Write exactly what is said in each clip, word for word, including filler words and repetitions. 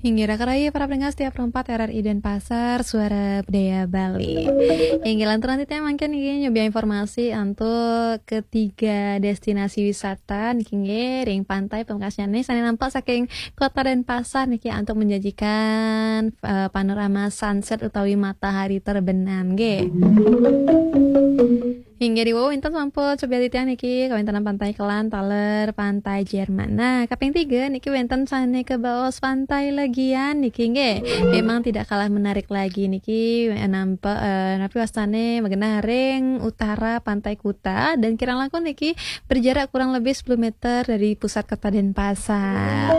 Inggih, raka rayi para pendengar setia Pro empat R R I Denpasar, Suara Budaya Bali. Inggih, lanturang titiang mangkin niki nyobia informasi antuk ketiga destinasi wisata niki nggih ring pantai pamekasnyané sané nampak saking Kota Denpasar niki antuk menjanjikan eh, panorama sunset utawi matahari terbenam nggih. Inggih, ri wau wénten sampun cobian titiang niki kawéntenan Pantai Kelan taler Pantai Jerman. Nah, kaping tiga niki wénten sané kabaos Pantai Legian niki nggih. Memang tidak kalah menarik lagi niki, eh, nampak eh, napi wastané magenah ring utara Pantai Kuta dan kirang langkung niki berjarak kurang lebih sepuluh meter dari pusat Kota Denpasar.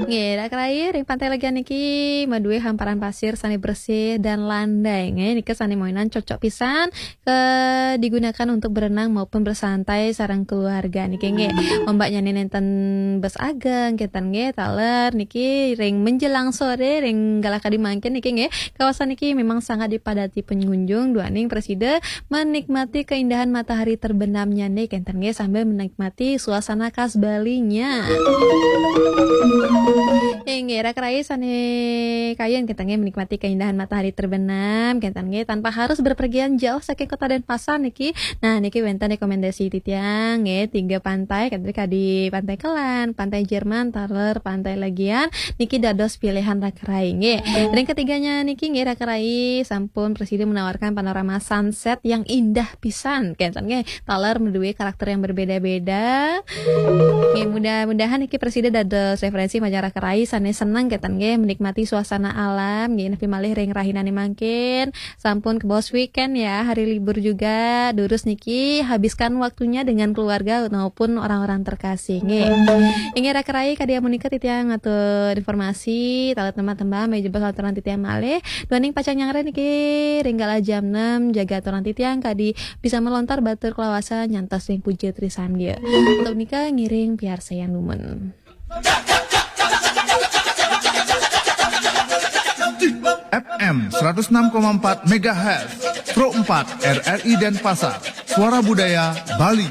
Nggih, raka rayi ring Pantai Legian niki madué hamparan pasir sané bersih dan landai. Nggih, nika sané mawinan cocok pisan ke digunakan untuk berenang maupun bersantai sareng keluarga niki nggih. Ombaknyané nénten bes ageng kénten nggih, taler niki ring menjelang sore ring galah kadi mangkin niki nggih. Kawasan niki memang sangat dipadati pengunjung duaning prasida menikmati keindahan matahari terbenamnyané kénten nggih sambil menikmati suasana khas Balinya. Inggih, raka rayi sané kayun kénten nggih menikmati keindahan matahari terbenam kénten nggih tanpa harus berpergian jauh saking Kota Denpasar niki. Nah, niki wénten rekomendasi titiang nggih tiga pantai, kadi Pantai Kelan, Pantai Jerman, taler Pantai Legian niki dados pilihan raka rayi nggih. Ring ketiganya niki nggih raka rayi sampun prasida menawarkan panorama sunset yang indah pisan kénten nggih. Taler madué karakter yang berbeda-beda. Nggih, mudah-mudahan niki prasida dados referensi majeng raka rayi sané seneng kénten nggih menikmati suasana alam nggih, napi malih ring rahinané mangkin sampun kabaos weekend ya, hari libur juga. Durus niki habiskan waktunya dengan keluarga maupun orang-orang terkasih nggih. Inggih raka rayi kadi amunika titiang ngatur informasi taler tembang-tembang, menawi jebos lanturang titiang malih. Duaning pacang nyanggra niki ring galah jam enam jaga aturan titiang kadi bisa melontar batur kalawasan nyantos ring puja trisandia. Untuk nika ngiring piarsayang dumun. F M seratus enam koma empat megahertz, Pro empat R R I Denpasar, Suara Budaya Bali.